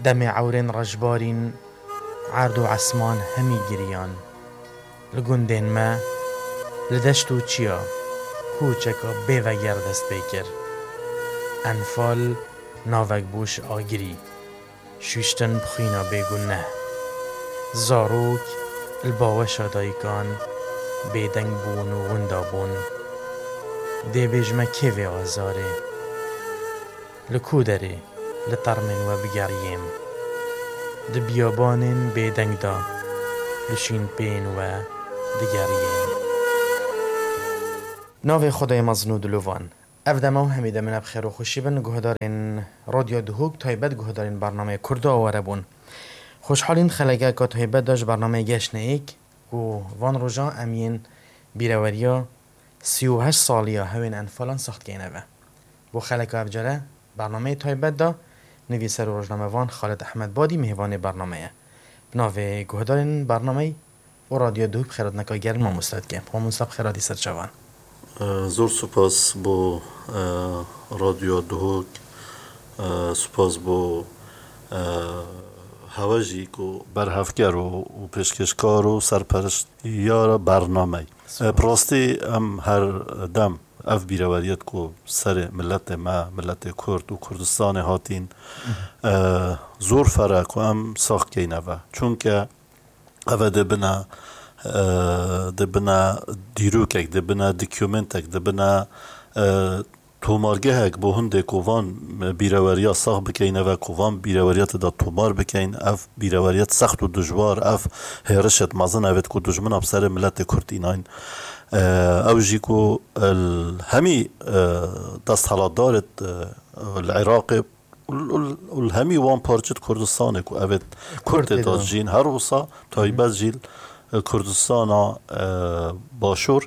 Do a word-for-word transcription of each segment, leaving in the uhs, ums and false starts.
Demê ewrên reşbarîn erd û esman hemî giriyan. Li gundên me, li deşt û çiya, kûçeka bêveger dest pê kir. Enfal navek bû ji agirî. Şûştin bi xwîna bêguneh. Zarok li baweşa dayikan bêdeng bûn û winda bûn. Dê bêjime kê vê azarê? Li ku derê li termên we bigeriyêm? Di biyabanên bêdeng de li şînpeyên we digeriyêm. Navê Xwedayê mezin û dilovan. Ev dema û hemî demine bi xêr û xweşî bin, guhdarên Radyo Duhok, taybet guhdarên bernameyê Kurda aware bûn. Xweşhalîn xelekeka taybet de ji bernameyê Geşneyek ku van roja em yên bîreweriya sî û heşt saliya hewên Enfalan sax dikeyne ve. Bo xeleka evcere bernameyê taybet de nivîser û rojnamevan Xalid Ehmed Badî mêvanê bernameye. Bi navê guhdarên bernameyê û Radyo Duhok bi xêrhatineka germ mamoste dike. Mamoste bi xêr hatî ser çavan. E, zor spas bo, e, Radyo Duhok. E, spas bo, e, hewe jî ku berhevker û, û pêşkêşkar û serperişt ya bernameyê. E, bi rastî em her dem ev bîreweriyet ku serê miletê me, miletê Kurd û Kurdistanê hatîn, e, zor fere ku em sax keyne ve. Çunke ev ê dibine, e, dibine dîrokek, dibine dokumentek, dibine, e, tomargehek bo hindê ku van bîreweriya sax bikeyne ve, ku van bîreweriyetê de tomar bikeyn. Ev bîreweriyet sext û dijwar, ev hêrişet mezin evêt ku dijmina bi serê miletê Kurd înayn. E, ew jî ku, e, hemî, e, desthilatdarêt, e, li Iraqê û, û, û hemî wan parçêt Kurdistanê ku evêt Kurd tê de jîn, her wisa taybet jî li Kurdistana, e, Başûr,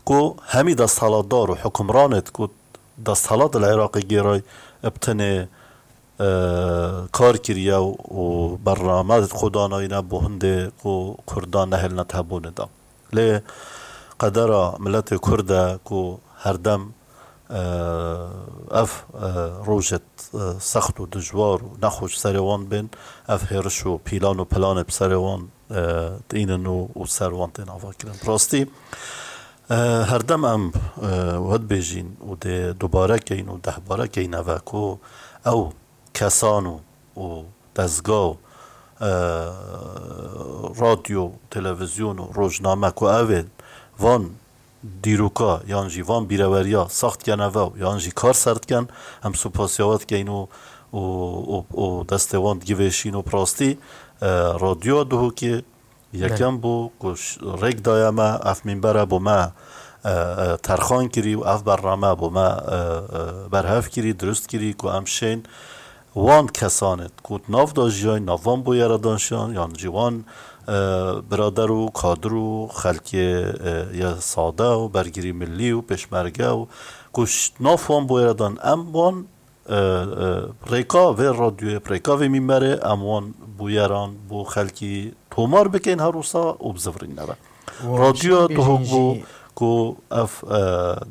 ku hemî desthilatdar û hukimranêt ku desthilat li Iraqê gêray, bi tenê, e, kar kiriye û bername xwe danayîne bo hindê ku Kurdan nehêline di hebûnê de. Lê qedera miletê Kurd e ku herdem, e, ev, e, rojêt, e, sext û dijwar û nexweş serê wan bên, ev hêriş û pîlan û pilanê bi serê wan, e, tînin û, û ser wan tên avakirin. Bi rastî, e, herdem em, e, we dibêjîn û dê dubare keyn û dehbare keyn eve ku ew kesan û, û dezga û, e, radyo, televîzyon û rojname ku ev ê van dîroka yan jî van bîreweriya sax dikene ve û yan jî kar ser dikin, em supasiya we dikeyn û, û, û, û destê wan digivêşîn û bi rastî, e, radyoya Duhokê Yekem bû ku ş-, rêk daye me, ev mînbere bo me, e, e, terxan kirî û ev bername bo me, e, e, berhev kirî, dirust kirî ku em şên wan kesanê ku di nav de jiyayîn, nav van bûyera de jiyayîn, yan jî wan, e, birader û kadir û xelkê, e, ye sade û bergirî millî û pêşmerge û ku ş-, nav wan bûyera de em wan e, e, rêka vê radyoyê, rêka vê mînberê em wan bûyeran bo xelkî tomar bikeyn her wisa û bizivirîne ve. Radyoya Duhok bû ku ev, e,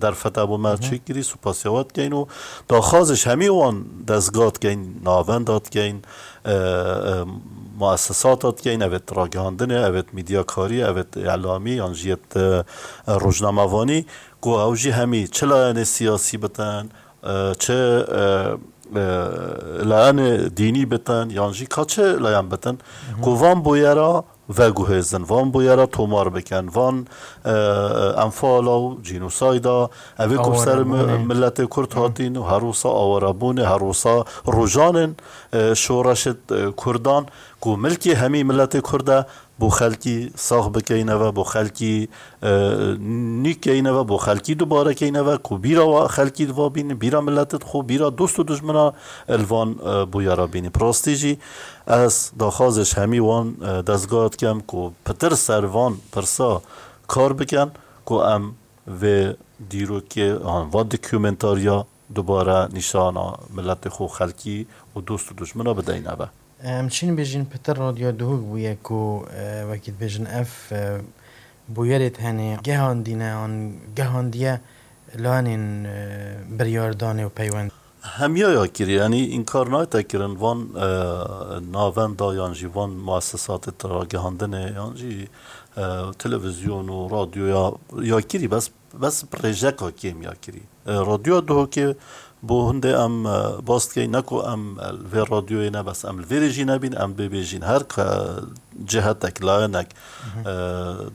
derfeta bo me çêkirî, supasiya we dikeyn û daxwazê ji hemî wan dezga dikeyn, navenda dikeyn, e, e, muessesata dikeyn, evêt ragihandinê, evêt medyakarî, evêt îlamî yan jî yêt, e, e, rojnamevanî ku ew jî hemî çi layenê siyasî bitin, e, çi, e, e, layenê dînî bitin, yan jî ka çi layen bitin, ku van bûyera veguhêzin, van bûyera tomar bikin, van, e, enfala û cînosayda, ev ê ku ser mi-, miletê Kurd hatîn û her wisa awarebûnê, her wisa rojanên, e, şoreşê, e, Kurdan, ku milkê hemî miletê Kurd e, bo xelkî sax bikeyne ve, bo xelkî, e, nî keyne ve, bo xelkî dubare keyne ve, ku bîra wa xelkî di va bînin, bîra miletê xwe, bîra dost û dijmina li van, e, bûyera bînin. Bi rastî jî ez daxwazê ji hemî wan, e, dezgeha dikem ku pitir ser van pirsa kar bikin, ku em vê dîrokê, an, van dokumentariya dubare nîşana miletê xwe, xelkî û dost û dijmina bideyne ve. Em çîn bêjin pitir Radyo Duhok bûye ku, e, wekî dibêjin ev, e, bûyerê tenê gehandîne an gehandiye lanên, e, biryardanê û peywend. Hemiya ya kirî, yanî înkar nayte kirin van, e, navenda yan jî van muessesatê ragihandinê yan jî, e, televîzyon û radyoya ya kirî, bes, bes rêjeka kêm ya kirî. E, radyoya Duhokê bo hindê em, e, bas dikeyn, ne ku em, e, li vê radyoyê ne, bes em li vêrê jî nebîn, em bêbêjîn. Her ke cihetek, layenek, e,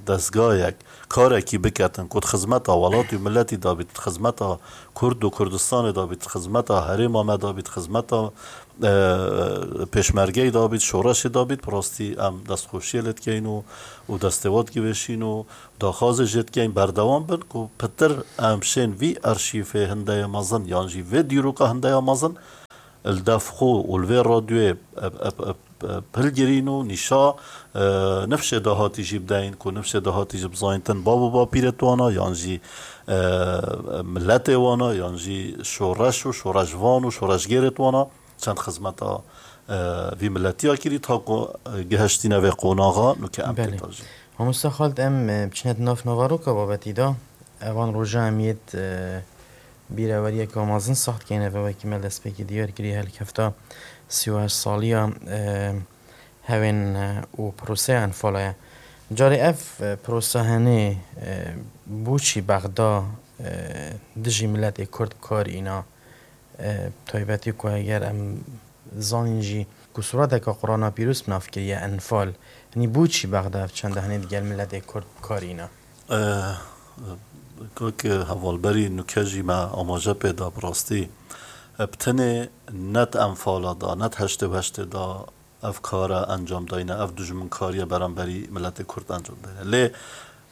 dezgayek, karekî biketin ku di xizmeta welatî û miletî de bît, di xizmeta Kurd û Kurdistanê de bît, di xizmeta herêma me de bît, di xizmeta, e, pêşmergeyê de bît, şoreşê de bît, bi rastî em destxweşiyê lê dikeyn û, û destê we digivêşîn û daxwazê jê dikeyn berdewam bin ku pitir em şên vî arşîvê hindeye mezin yan jî vê dîroka hindeye mezin li dev xwe û li vê radyoyê, e, e, e, e, hilgirîn û nîşa, e, nifşê dahatî jî bideyin ku nifşê dahatî jî bizanîtin bav û bapîrê wana yan jî, e, miletê wana yan jî şoreş û şoreşvan û şoreşgêrê wana çend xizmeta, e, vî miletiya kirî ta ku, e, gihiştîne vê qonaxa nûke em Belê. têta jî. Mamosta Xalid, em, e, biçine di nav naveroka babetî de. Evan roja em yêt, e, bîreweriyeke mezin sax dikeyne ve wekî me destpêkî diyar kirî helkefta sî û heşt saliya, e, hewên, e, û proseya Enfala ye. Carê ev, e, prosa henê, e, boçî Bexda, e, dijî miletê Kurd bi kar îna, e, taybetî ku eger em zanîn jî ku sureteke Qur'ana Pîroz bi nav kiriye Enfal, hinî boçî Bexda ev çende hinî digel miletê Kurd bi kar îna? E, kak hevalberî nûke jî me amaje pê da bi rastî. E, bi tenê ne di Enfala da, ne di heştê û heştê da ev kara encam dayne, ev dijminkariye beramberî miletê Kurd encam dayne. Lê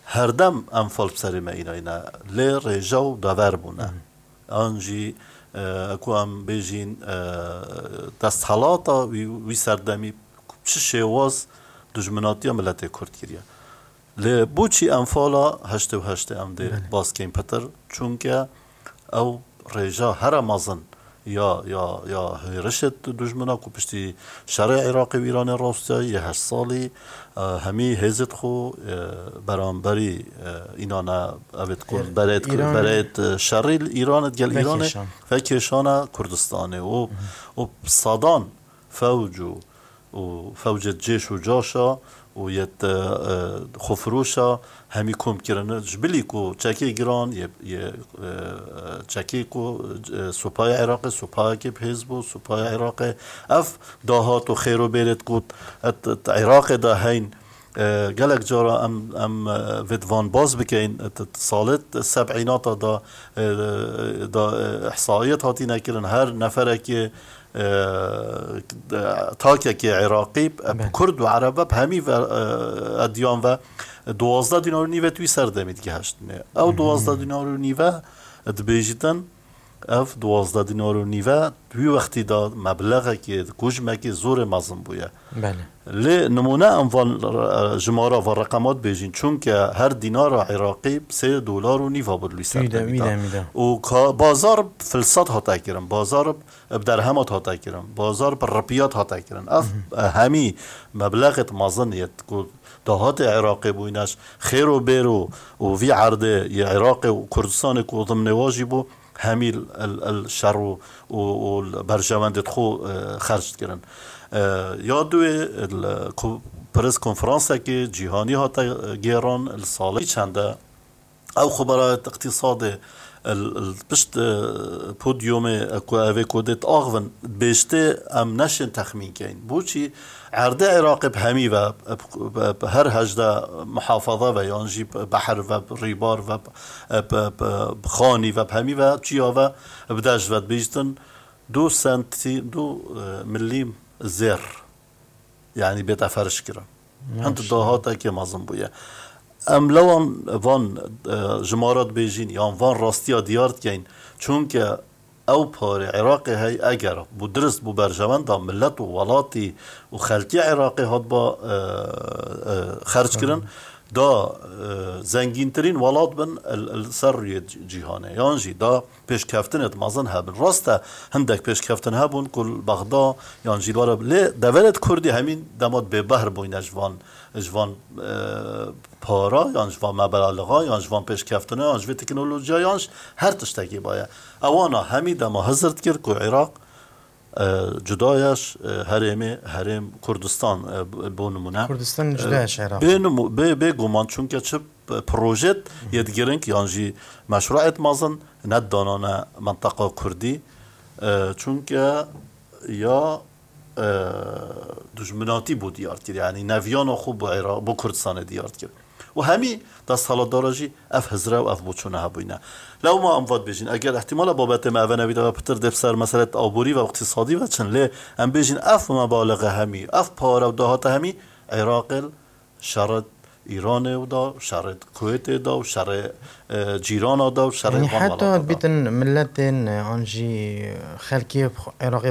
herdem Enfal bi serê me înayne. Lê rêje û dever bûne. An jî, e, ku em bêjîn, e, desthelata wî, wî serdemî çi şêwaz dijminatiya miletê Kurd kiriye. Lê boçî Enfala heştê û heştê em dê Belê. bas keyn pitir? Çunke ew rêja here mezin ya, ya, ya hêrişê dijmina ku piştî şerê Iraqê û Îranê rawestiyayî yê heşt salî, e, hemî hêzê xwe, e, beramberî, e, înan e, evêt ku Er, berêt, Îran berêt, e, şerî li Îranê digel Îranê vekêşan. vekêşana Kurdistanê û, û sadan fewc û û fewcê cêş û caşa û yet, e, e, xwefiroşa hemî kom kirine. Ji bilî ku çekê giran yê, yê, e, çekê ku, e, supaya Iraqê, supayekê bi hêz bû, supaya Iraqê ev dahat û xêr û bêrê ku et, et Iraqê de heyn, e, gelek cara em, em, e, vê di van baz bikeyin, et, et salê seb'înata da, e, da, e, ihsaiyet hatîne kirin, her neferekê e, takekê Iraqî, e, Belê. Kurd û Ereb ve, bi hemî ve, e, ediyan ve, duwazdeh dînar û nîve tu wî serdemî digiheştinê. Ew Hı hı. duwazdeh dînar û nîve dibêjîtin, ev duwazdeh dînar û nîve di wî wextî de meblexekê, kujmekê zorê mezin bûye. Belê. Lê nimûne em van, e, jimara van reqemat bêjîn, çunke her dînara Iraqî sê dolar û nîva bû li wî Wî de, serdemî wî de. de, wî de. Û ka, bazar bi filsat hate kirin, bazar bi derhemat hate kirin, bazar bi ripiyat hate kirin. Ev, Mhm. e, hemî meblexêt mezin yêt ku dahatê Iraqê bûyne ji xêr û bêr û, û vî erdê yê Iraqê û Kurdistanê ku dimnê wa jî bû, hemî el, el şer û, û, û berjewendê xwe, e, xerc dikirin. E, ya duê, el, ku pres konferansekê cîhanî hate, e, gêran, li salê çende ew xeberayet îqtîsadê, el, el pişt, e, podyumê, e, ku evê ku dê diaxivin, bêjtê em neşên texmîn keyn. Boçî erdê Iraqê bi hemî ve, bi, bi, bi her hejde muhafaza ve, yan jî bi behr ve, bi rîbar ve, bi, bi, bi, bi xanî ve, bi hemî ve, çiya ve, bi dej ve dibêjtin, du sentî-, du, e, milîm zêr, yanî bête ferş kirin. Hin Maşallah. dahatekê mezin bûye. Em lewan van, e, jimara dibêjin, yan van rastiya diyar dikeyn. Çunke ew parê Iraqê hey eger bû dirist bû berjewenda millet û welatî û xelkê Iraqê hatba, e, e, xerc kirin, Hı. da e, zengîntirîn welat bin li ser rûyê cîhanê, yan jî da pêşkeftinêt mezin hebin. Rast e, hindek pêşkeftin hebûn ku li Bexda yan jî li were, lê deverêt Kurdî hemî dema bêbehr bûyne ji van, ji van e, para, yan ji van mebelalixa, yan ji van pêşkeftina, yan ji vê teknolojiya, yan ji her tiştekî baye. Ewana hemî dema hizir dikir ku Iraq e, cuda ye ji e, herêmê, herêm Kurdistan e, bo nimûne. Kurdistan cuda ye ji Iraq. Bê, nimu, bê, bê guman, çunke çi projet yê girîng yan jî meşruet mezin nedidanane menteqa Kurdî. E, çunke ya e, dijminatî bû diyar dikir. Yanî neviyana xwe bo Iraq, bo Kurdistanê diyar dikir. Û hemî desthilatdara jî ev hizre û ev boçûne hebûyne. Lewma em vat bêjin, eger ihtimala babetê me eve nebît, eve pitir dê bi ser meselê aborî ve iqtîsadî ve çin, lê em bêjin ev mebalixe hemî, ev pare û dahate hemî Iraqê li şerê Îranê û da, şerê Kuwêtê da û şerê e, cîrana da û şerê Yanî van heta welata da. Bîtin milletên e, an jî xelkê Iraqê